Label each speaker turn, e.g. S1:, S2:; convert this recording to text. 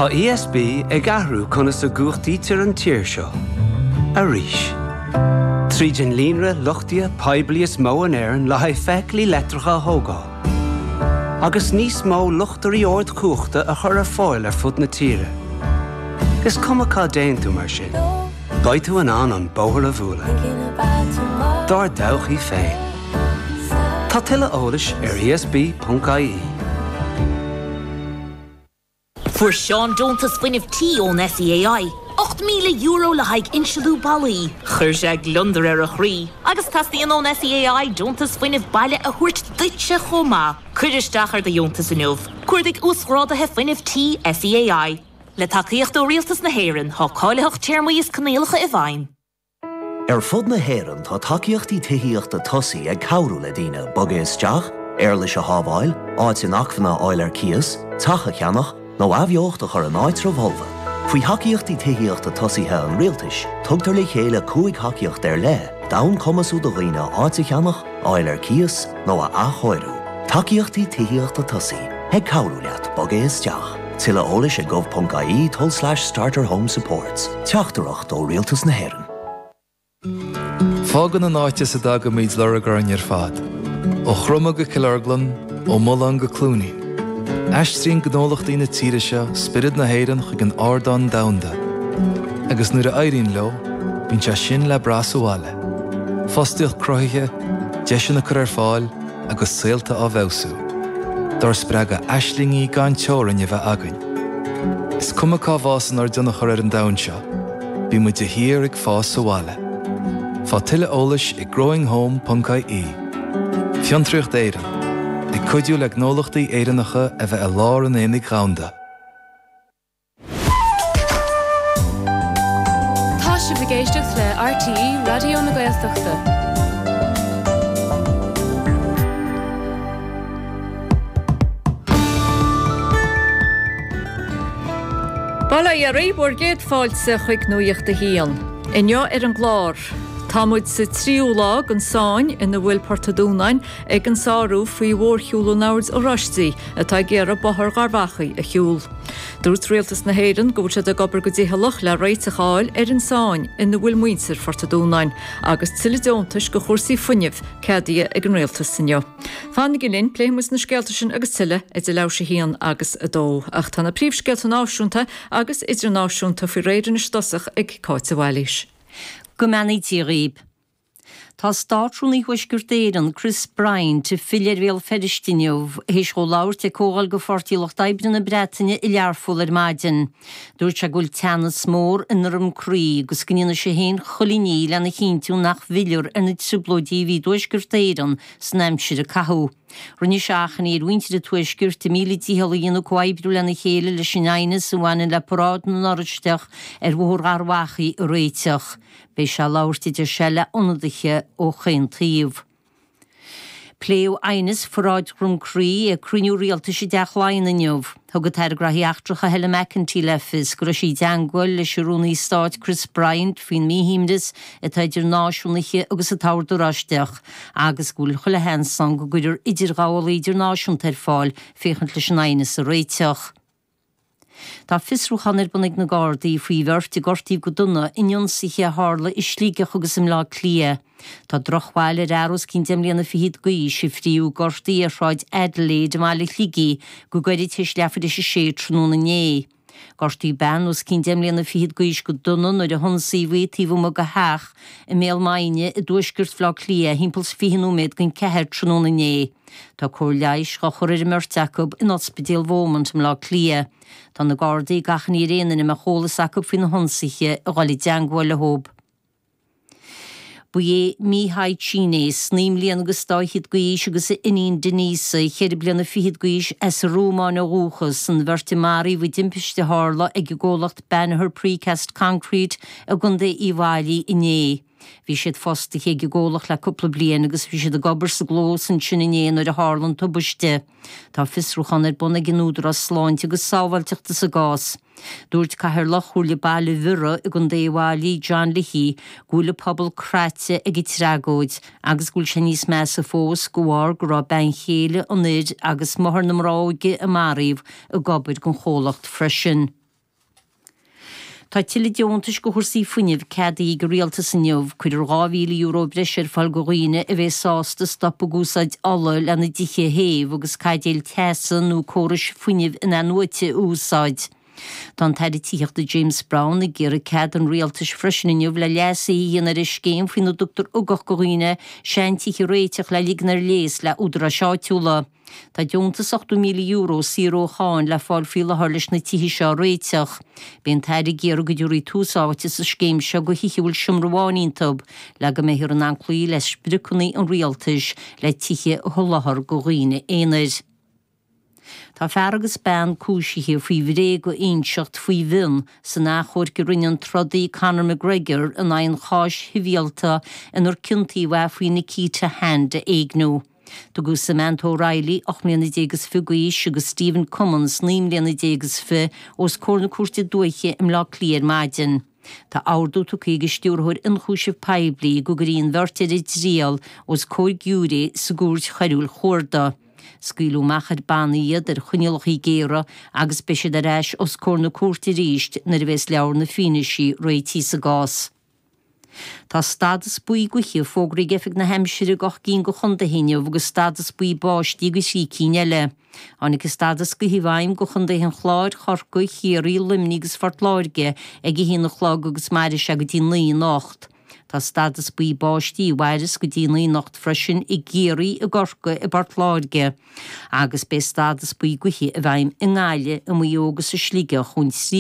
S1: Tá ESB ag athrú conas a gcumhachtaítear an tír seo. Arís. Tríd an líonra luchtaithe poiblí is mó in Éirinn le haghaidh feithiclí leictreacha a thógáil. Agus níos mó luchtairí ardchumhachta a chur ar fáil ar fud na tíre. Is cuma cá dtéann tú mar sin, beidh tú in ann an bóthar a bhualadh. Dár dtodhchaí féin. Tá tuilleadh eolais ar esb.ie.
S2: Fuair Seán deontas fuinnimh tí ón SEAI, €8,000 le haghaidh insealú ballaí. Chuir sé gliondar ar a chroí. Agus teastaíonn ón SEAI deontas fuinnimh baile a thabhairt duitse chomh maith. Cuir isteach ar do dheontas inniu. Cuardaigh Uasghráduithe Fuinnimh Tí SEAI. Le tacaíocht ó Rialtas na hÉireann, tá cáilitheacht, téarmaí is coinníollacha i bhfeidhm.
S3: Ar fud na hÉireann tá tacaíochtaí tithíochta tosaigh ag cabhrú le daoine bogadh isteach, éarlais a shábháil, áit inacmhainne a fháil ar cíos, teach a cheannach, nó athbheocht a chur in áitreabh folmha. Faoi Thacaíochtaí Tithíochta Tosaithe an Rialtais, tugtar le chéile 5 thacaíocht ar leith d'fhonn cumasú do dhaoine áit a cheannach, a fháil ar cíos, nó a athchóiriú. Tacaíochtaí Tithíochta Tosaigh, ag cabhrú leat bogadh isteach. Tuilleadh eolais ag gov.ie tulslais starterhomesupports. Teachtaireacht ó Rialtas na hÉireann.
S4: Fágann an áit as a dtagaimid lorg orainn ar fad, ó Chroma go Cill Orglan, ó Mullán go Cluainín. Aistríonn gnólachtaí na tíre seo spiorad na hÉireann chuig an ardán domhanda. Agus nuair a éiríonn leo, bíonn sé sin le brath sa bhaile. Fostaíocht cruthaithe, deiseanna curtha ar fáil agus saolta á bhfeabhsú. Dár spreagadh aislingí gan teorainn a bheith againn. Is cuma cá bhfásann ár dtionchar ar an domhan seo, Bíonn muid de shíor ag fás sa bhaile. Faigh tuilleadh eolais ag growinghome.ie. Fiontraíocht Éireann, ag cuidiú le gnólachtaí Éireannacha a bheith i lár an aonaigh dhomhanda.
S5: Tá sibh ag éisteacht le RTÉ Raidió na Gaeltachta.
S6: Bail ó Dhia oraibh, bhur gcéad fáilte chuig Nuacht a hAon. Inniu ar an gclár, tá muid sa tríú lá den sáinn ina bhfuil Port an Dúnáin ag an sárú faoi mhórshiúl an Oird Oráistigh atá ag iarraidh Bóthar Gharbh Achaidh a shiúl. Dúirt Rialtas na hÉireann go bhfuil siad ag obair go dicheallach le réiteach a fháil ar an sáinn ina bhfuil muintir Phort an Dúnáin agus tuilleadh deontais do chúrsaí fuinnimh ceadaithe ag an Rialtas inniu. Fanaigí linn, pléifidh muid na scéalta sin agus tuilleadh idir leathuair théis 1 agus 2. Ach tá na príomhscéalta náisiúnta agus idirnáisiúnta faoi réir anois i dtosach ag Cáit de Bhailís.
S7: Go mbeannaí Dia dhaoib. Tá Státrúnaí Thuaisceart Éireann, Chris Bryant, ag filleadh ar Bhéal Feirste inniu, théis dhó labhairt ag comhdháil de Pháirtí Lucht Oibre na Breataine i Learpholl ar maidin. Dúirt sé go bhfuil teannas mór i nDroim Crí agus go ndéanfaidh sé féin chuile ní lena chinntiú nach bhfillfear ar na trioblóidí a bhí i dTuaisceart Éireann san aimsir a caitheadh. Rinne sé achainí ar mhuintir an Tuaiscirt a míle dícheall a dhéanamh comhoibriú lena chéile leis an aighneas a bhaineann le Paráid na nOraisteach ar Bhóthar Gharbh Achaidh a réiteach. Beidh sé ag labhairt, a deir sé, le ionadaithe ó chaon taobh. Pléadh aighneas Pharáid Dhroim Crí ag cruinniú rialtais i dTeach Laighean inniu. Thug an tAire Graithí Eachtracha Helen McEntee le fios go raibh sí i dteangmháil leis an Rúnaí Stáit Chris Bryant faoin míshuaimhneas atá idir náisiúnaithe agus an tOrd Oráisteach agus go bhfuil chuile sheans ann go gcuirfear idirghabhálaí idirnáisiúnta ar fáil féachaint leis an aighneas a réiteach. Tá fiosrúchán ar bun ag na Gardaí faoi bheirt a gortaíodh go dona in ionsaithe a tharla i Sligeach agus i mBleá Cliath. Tá drochbhail ar fhear os cionn deich mbliana fichead d'aois a frítheadh gortaithe ar Shráid Adelaide i mbaile Shligigh go gairid tar éis leathuair tar éis a sé tráthnóna inné. Gortaíodh bean os cionn deich mbliana fichead d'aois go dona nuair a hionsaíodh í taobh amuigh de theach i mBéal Maighne i dtuaisceart Bhaile Átha Cliath thimpeall 's 20 nóiméad don cheathair tráthnóna inné. Tá cóir leighis dhá chur ar an mbeirt acu in Ospidéal Beaumont i mBleá Cliath. Tá na Gardaí ag achainí ar aon duine a mbeadh eolas acu faoi na hionsaithe a dhul i dteangmháil leo. Ba é Mihai Cines, 9 mbliana agus dá fhichead d'aois agus a iníon Denisa, ceithre bliana fichead d'aois, as an Rómáin ó dhúchas, an bheirt a maraíodh i dtimpiste a tharla ag an gcomhlacht Banagher Precast Concrete i gContae Uíbh Fhailí inné. Bhí siad fostaithe ag an gcomhlacht le cúpla bliain agus bhí siad ag obair sa gclós ansin inné nuair a tharla an tubaiste. Tá fiosrúchán ar bun ag an Údarás Sláinte agus Sábháilteachta sa gcás. Dúirt Cathaoirleach Chomhairle Baile Bhiorra i gContae Uíbh Fhailí, John Leahy, go bhfuil an pobal craite ag an tragóid agus go bhfuil sé níos measa fós de bharr go raibh bean chéile an fhir agus máthair na mná óige a maraíodh ag obair don chomhlacht freisin. Tá tuilleadh deontais go chúrsaí fuinnimh ceadaithe ag an Rialtas inniu. Cuirfear €2,000 breise ar fáil go dhaoine a bheidh sásta stop ag úsáid ola lena dtithe a théamh agus caidéil teasa nó córais fuinnimh in-athnuaite a úsáid. Tá an tAire Tithíochta James Browne ag iarraidh cead an Rialtais freisin inniu le leasuithe a dhéanamh ar an scéim faoina dtugtar ugach go dhaoine seantithe a réiteach le ligean ar léas le údaráis áitiúla. Tá deontas €80,000 saor ó cháin le fáil faoi láthair leis na tithe seo a réiteach. Beidh an tAire ag iarraidh go dtabharfaí tús áite sa scéim seo go thithe a bhfuil seomra amháin iontu le go mbeifear in ann cloí le spriocanna an Rialtais le tithe a sholáthar go dhaoine aonair. Tá fear agus bean cúisithe faoi bhréag a inseacht faoi mhionn san achomharc a rinne an trodaí Conor McGregor in aghaidh an cháis shibhialta inar ciontaíodh é faoi Nikita Hand a éigniú. Tugadh Samantha O'Reilly, 18 mbliana is fiche d'aois, agus Stephen Cummins, 19 mbliana is fiche, os comhair na Cúirte Dúiche i mBleá Cliath ar maidin. Tá ordú tugtha ag an Stiúrthóir Ionchúiseamh Poiblí go gcuirfí an bheirt ar a dtriail os comhair giúiré sa gCúirt Choiriúil Chuarda. Scaoileadh amach ar banna iad ar choinníollacha géara agus beidh siad ar ais os comhair na cúirte arís nuair a bheas leabhar na fianaise réitithe sa gcás. Tá stádas buí gaoithe fógraithe ag Oifig na hAimsire ag 8 gcinn de chontaetha inniu agus stádas buí báistí go thrí cinn eile. Tháinig an stádas gaoithe i bhfeidhm go chontaetha an Chláir, Chorcaí, Chiarraí, Luimnigh agus Phort Láirge ag a haon a chlog agus mairfidh sé go dtí 9 anocht. Tá stádas buí báistí a mhairfeas go dtí 9 anocht freisin i gCiarraí, i gCorcaigh, i bPort Láirge agus beidh stádas buí gaoithe i bhfeidhm i nGaillimh, i Maigh Eo agus i Sligeach ón 3.